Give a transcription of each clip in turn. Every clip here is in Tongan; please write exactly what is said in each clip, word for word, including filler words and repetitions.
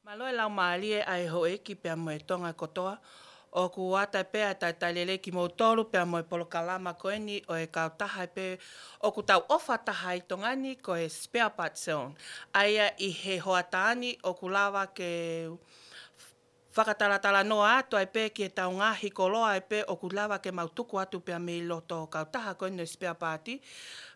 Mālō e laumālie ʻa e houʻeiki pea mo e Tonga kotoa. ʻOku ʻatā pē ʻa e talitali lelei kimoutolu pea mo e polokalama ko eni ʻo e kautaha pē ʻoku tau ʻofa taha ai ʻi Tonga ni ko e Spare Parts Zone. ʻA ia ʻi he hoʻatā ni ʻoku lava ke fakatalatalanoa atu ai pē ki heʻetau ngaahi koloa ai pē ʻoku lava ke mau tuku atu pea mei loto kautaha ko eni ʻo e Spare Parts.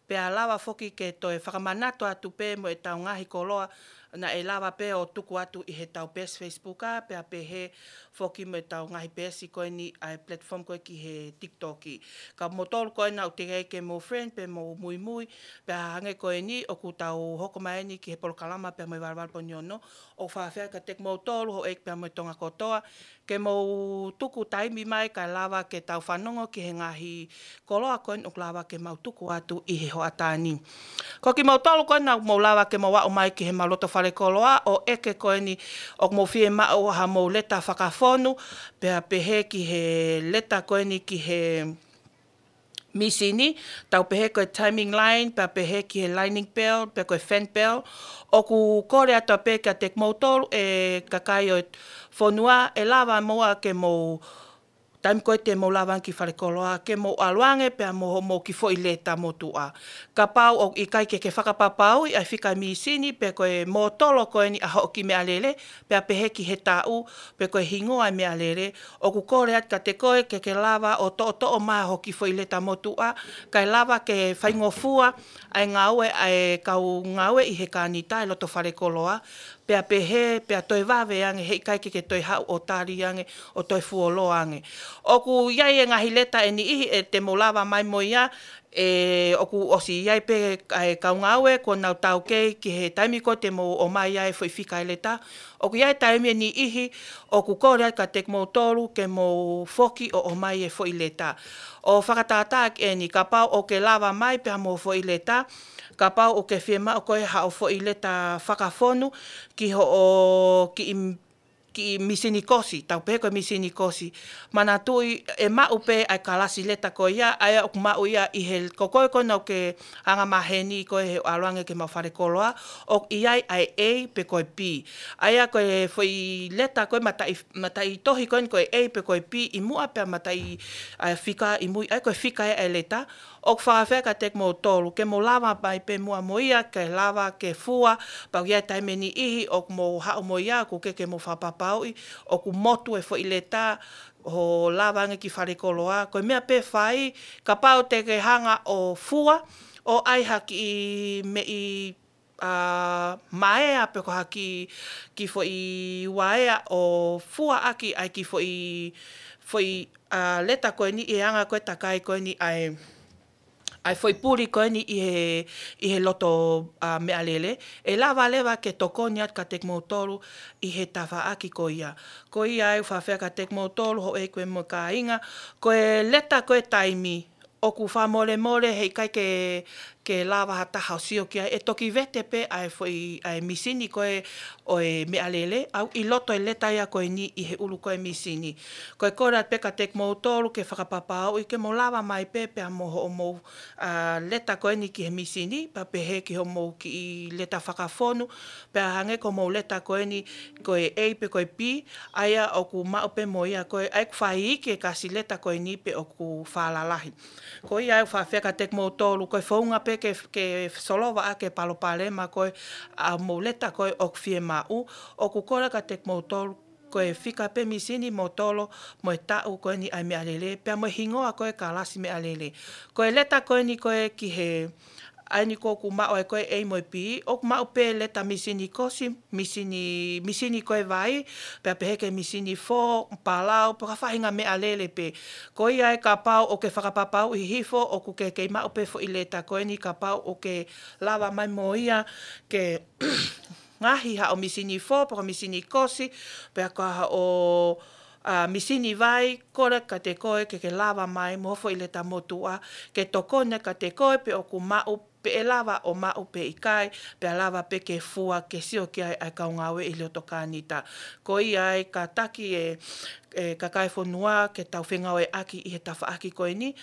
Pea lava foki ke toe fakamanatu atu pē mo ʻetau ngaahi koloa naʻe lava pē ʻo tuku atu ʻi heʻetau peesi Facebook ā, pea pehē foki mo ʻetau ngaahi peesi ko eni ʻa e platform ko ē ki he TikTok. Ka moutolu ko ē naʻa mou teʻeki ai ke mou friend pe mou muimui, pea hangē ko eni ʻoku tau hoko mai eni ki he polokalama pea mo e Valevale Pō ni Ono, ʻoku faʻa fie kiate kimoutolu houʻeiki pea mo e Tonga kotoa, ke mou tuku taimi mai kae lava ke tau fanongo ki he ngaahi koloa ko eni ʻoku lava ke mau tuku atu ʻi he hoʻatā ni. Ko kimoutolu ko eni naʻa mou lava ke mou aʻu mai ki heʻemau loto fale koloa ʻo ʻeke ko eni ʻoku mou fiemaʻu haʻamou leta fakafonu, pea pehē ki he leta ko eni ki he mīsini, tau pehē ko e timing line, pea pehē ki he lining belt, pe ko e fan belt, ʻoku kole atu pē kiate kimoutolu e kakai ʻo e fonua, ʻe lava muʻa ke mou, taimi ko ē te mou lava ange ki fale koloa, ke mou ʻalu ange pea mo hoʻomou kiʻi foʻi leta motuʻa. Kapau ʻoku ʻikai ke ke fakapapauʻi ʻa e fika e mīsini, pe ko e mōtolo ko eni ʻa hoʻo kiʻi meʻalele, pea pehē ki he taʻu, pe ko e hingoa e meʻalele, ʻoku kole atu kiate koe ke ke lava ʻo toʻotoʻo mai hoʻo kiʻi foʻi leta motuʻa, kae lava ke faingofua ʻa e ngāue ʻa e kau ngāue ʻi he kānita ʻi loto fale koloa, pea pehē, pea toe vave ange, heʻikai ke ke toe haʻu ʻo tali ange, ʻo toe fuoloa ange. ʻOku ʻi ai e ngaahi leta ʻe niʻihi ʻe te mou lava mai mo ia, ʻe, ʻoku ʻosi ʻi ai pē ʻa e kau ngāue kuo nau taukei ki he taimi ko ē te mou ʻomai ai e foʻi fika e leta. ʻOku ʻi ai e taimi ʻe niʻihi ʻoku kole atu kiate kimoutolu ke mou foki ʻo ʻomai e foʻi leta. ʻO fakatātā ʻaki eni, kapau ʻoku ke lava mai pea mo e foʻi leta, kapau ʻoku ke fiemaʻu koe haʻo foʻi leta fakafonu ki hoʻo kiʻi kiʻi mīsini kosi, tau pehē ko e mīsini kosi. Manatuʻi ʻe maʻu pē ʻa e kalasi leta ko ia, ʻa ia ʻoku maʻu ia ʻi he, ko koe ko ena ʻoku ke anga maheni ko ē he ʻalu ange ki heʻemau fale koloa, ʻoku ʻi ai ʻa e A pe ko e B. ʻA ia ko e foʻi leta ko ē mataʻi, mataʻitohi ko eni ko e A pe ko e B ʻi muʻa pea mataʻi ʻa e fika ʻi mui, ʻa ia ko e fika ē ʻa e leta, ʻoku faʻa fie kiate kimoutolu, ke mou lava mai pē muʻa mo ia, ke lava ke fua, pea ʻoku ʻi ai e taimi ʻe niʻihi, ʻoku mou haʻu mo ia, ʻoku ʻikai ke mou fakapapauʻi, ʻoku motu e foʻi leta, ʻo lava ange ki fale koloa, ko e meʻa pē ʻe fai, kapau te ke hanga ʻo fua, ʻo ʻai ha kiʻi meʻi ʻa, maea pe ko ha kiʻi, kiʻi foʻi uaea ʻo fua ʻaki ʻa e kiʻi foʻi, foʻi, ʻa, leta ko eni ʻi he anga ko ē takai ko eni ʻa e, ʻa e foʻi puli ko eni ʻi he, ʻi he loto, ʻa, meʻalele. ʻE lava leva ke tokoni atu kiate kimoutolu ʻi he tafaʻaki ko ia. Ko ia ai ʻoku faʻa fie kiate kimoutolu, houʻeiki mo e kāinga, ko e leta ko ē taimi, ʻoku fakamolemole heʻikai ke, ke lava ha taha ʻo sio ki ai, ʻe toki vete pē ʻa e foʻi, ʻa e mīsini ko ē ʻo e meʻalele, ʻoku ʻi loto e leta ia ko eni ʻi he ʻulu ko ē mīsini. Ko e kole atu pē kiate kimoutolu ke fakapapauʻi ke mou lava mai pē pea mo hoʻomou, ʻa, leta ko eni ki he mīsini, pea pehē ki hoʻomou kiʻi leta fakafonu, pea hangē ko hoʻomou leta ko eni ko e A pe ko e B, ʻa ia ʻoku maʻu pē mo ia ko ē, ʻa ia ʻoku fai iiki e kasi leta ko eni pe ʻoku falalahi. Ko ia ai ʻoku faʻa fie kiate kimoutolu, ko e founga pē ke, ke solova ʻaki e palopalema ko ē ʻa hoʻomou leta ko ē ʻoku fiemaʻu, ʻoku kole kiate kimoutolu, ko e fika pē mīsini, mōtolo, mo e taʻu ko eni ʻa e meʻalele, pea mo e hingoa ko ē kalasi meʻalele. Ko e leta ko eni ko ē ki he, ʻa eni ko ē ʻoku maʻu ai ko ē A mo e B, ʻoku maʻu pē leta mīsini kosi, mīsini, mīsini ko ē vai, pea pehē ki he mīsini fō, palau, pe ko ha faʻahinga meʻalele pē. Ko ia ai kapau ʻoku ke fakapapauʻi hifo, ʻoku ke kei maʻu pē foʻi leta ko eni kapau ʻoku ke lava mai mo ia ke ngaohi haʻo mīsini fō, pe ko ha mīsini kosi, pe ko haʻo, ʻa, mīsini vai, kole kiate koe ke ke lava mai mo e foʻi leta motuʻa, ke tokoni kiate koe pe ʻoku maʻu, pe ʻe lava ʻo maʻu pe ʻikai, pea lava pē ke fua ke sio ki ai ʻa e kau ngāue ʻi loto kānita. Ko ia ai kātaki e, e kakai e fonua ke tau fengāueʻaki ʻi he tafaʻaki ko eni,